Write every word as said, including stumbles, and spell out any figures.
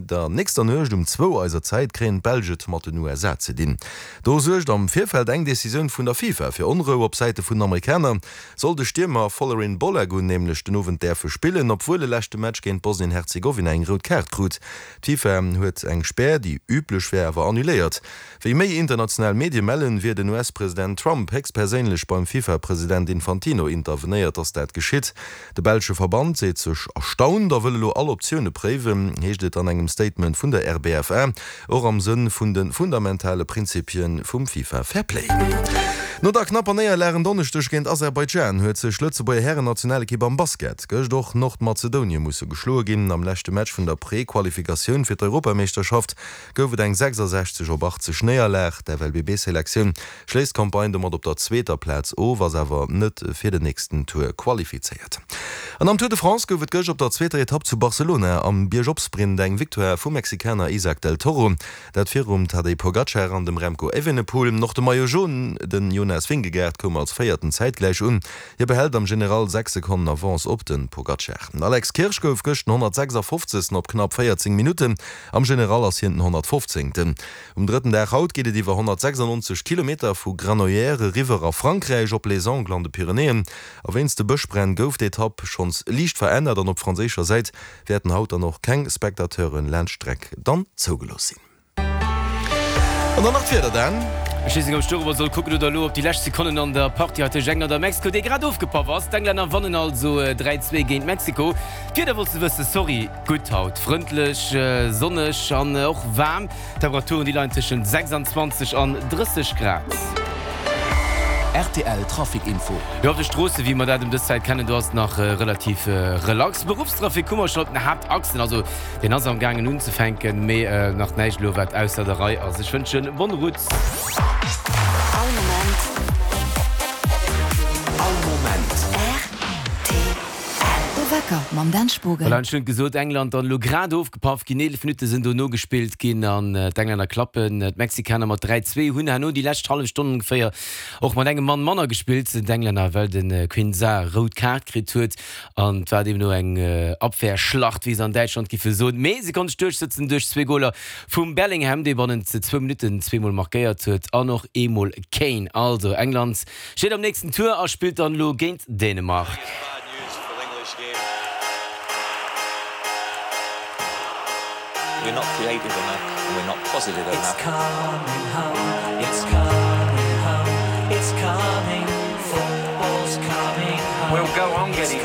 An der nächster Nuecht um zwou eiser Zäit kréien d'Belsch et mat den U S A ze dinn. Do suergt am Virfeld eng Decisioun vun der FIFA fir Onrou op Säite vun den Amerikaner. Soll de Stiermer Folarin Balogun nämlech den Owend däerfe spillen, obwuel e leschte Match géint Bosnien-Herzegowina eng rout Kaart krut. D'FIFA huet eng Spär, déi üblech wär, awer annuléiert. Wéi méi international Medie mellen, wier den U S-President Trump héchstperséinlech beim FIFA-President Infantino intervenéiert, dass dat geschitt. De belsche Verband seet sech erstaunt a wëll elo all Optioune préiwen, heescht et an engem Statement vun der R B F A, och am Sënn vun de fundamentale Prinzipie vum FIFA Fair Play. No der knapper Néierlag en Donneschdeg géint Aserbaidschan huet sech d'Lëtzebuerger Hären-Nationalekipp am Basket gëscht och Nordmazedonie musse geschloe ginn. Am leschte Match vun der Prequalifikatioun fir d'Europameeschterschaft gouf et eng sechsasechzeg op achtzeg Néierlag. D'F L B B-Selektioun schléisst d'Campagne domat op der zweeter Plaz of, ass awer net fir den nächsten Tour qualifizéiert. An am Tour de France gouf et gëscht op der zweeter Etapp zu Barcelona am Biergopsprint eng Victoire vum Mexikaner Isaac del Toro, dat virum Tadej Pogacar an dem Remco Evenepoel. Och de Maillot Jaune, den Jonas Vingegaard, koum als Véierten zäitgläich un. Hie behält am General sechs Sekonnen Avance op de Pogacar. Den Alex Kirsch gouf gëscht den honnertsechsafofzegsten op knapp véierzéng Minutten. Am General ass hien den honnertfofzéngten. Um drëtten Dag haut geet et iwwer honnertsechsannonzeg Kilometer vu Granollers eriwwer a Frankräich op Les Angles an de Pyrenäen. A wéinst de Bëschbränn gouf d'Etapp schonns liicht verännert an op franséischer Säit wäerten haut dann och keng Spectateuren laanscht d'Streck dann zougelooss sinn. An dann nach d'Wieder, Dan. Ech weess net, ob ech dorobber soll kucken oder elo op déi lescht Sekonnen an der Partie hei tëscht England a Mexiko, déi grad ofgepaff ass. D'Englänner wannen also dräi, zwee géint Mexiko. D'Wieder wolls de wëssen? Sorry, gutt haut, frëndlech, sonneg an och waarm. D'Temperaturen, déi leien tëschent sechsanzwanzeg an drësseg Grad. R T L Trafic Info. Jo, op de Stroosse wéi mer dat ëm dës Zäit kennen, do ass et nach relativ relax. Beruffstrafic hu mer schonn op den Haaptachsen, also deen ass am gaangen unzefänken, mee nach näischt elo wat ausser der Rei ass. Ech wënschen bonne route. All Moment. All Moment. R T L. De Wecker mam Dan Spogen. Voilà, ech hunn et gesot, England dann elo grad ofgepaff ginn, eelef Minutte sinn dono gespillt ginn an d'Englänner klappen d'Mexikaner mat dräi, zwee, hunn herno déi lescht hallef Stonn ongeféier och mat engem Mann manner gespillt, d'Englänner, well de Quinzar rout Kaart kritt huet an et war deemno eng Abwehrschlacht, wéi se an Däitschland giffe soen. Mee se konnte sech duerchsëtzen duerch zwee Goler vum Bellingham, dee bannent zwou Minutten zweemol markéiert huet, an och eemol Kane. Also England steet am nächsten Tour a spillt dann elo géint Dänemark. We're not creative enough and we're not positive It's enough. Coming home, it's coming home, it's coming, football's coming home. We'll go on It's getting